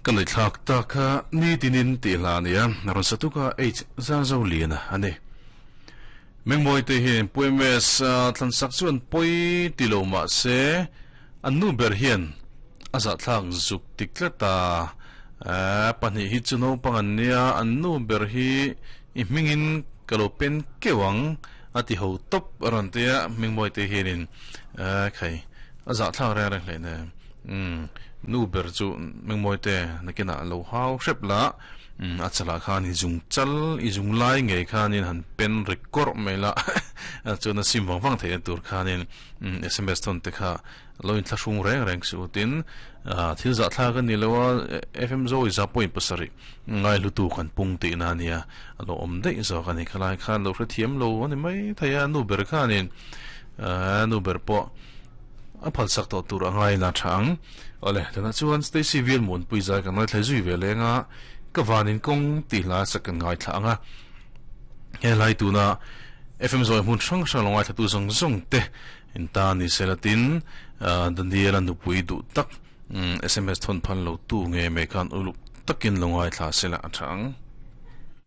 Ka ngaihthlak tak kha nitinin tih hla a nia, rawn sa tuk a H Zarzo Liana a ni. Mengmawi te hian Puemes thlansak chu an pawi ti lo mah se an nu ber hian a zahthlak zuk ti tlat a, pahnih hi chu naupang an nia, an nu ber hi i hmingin ka lo pen keuh ang a ti ho tawp a rawn ti a, Mengmawi te hianin khai a zahthlak reng reng hle nen. Umm nu ber chu Mengmawi te nakinah lo hau hrep la, umm a chalah khan i zung chal i zung lai ngei khanin han pen ri kawrh mai la chuan a sim vang vang theihna tur khanin umm sms thawn te kha lo inthlahrung reng reng suh u tin thil zahthlak a ni lo a FM Zoe za point pasarih ngai hlutu kan pung tihna a nia a lo awm daih zawk a ni khalai khan lo hrethiam lo a ni mai thei a nu ber khanin nu ber pawh A phalsak tawh tur a ngai la tha ang. Awle, tunah chuan Stacy Vial Muanpui zai kan ngaithla zui ve leng a, ka vanin kawng tih hla sak kan ngaithla ang a. He hlai tuna FM zawi hmun hrang hrang lo ngaithlatu zawng zawng te in ta ni se la tin Daniel-a nupui duh tak sms thawn phal lo tu nge mai khan uluk takin lo ngaithla se la a tha ang.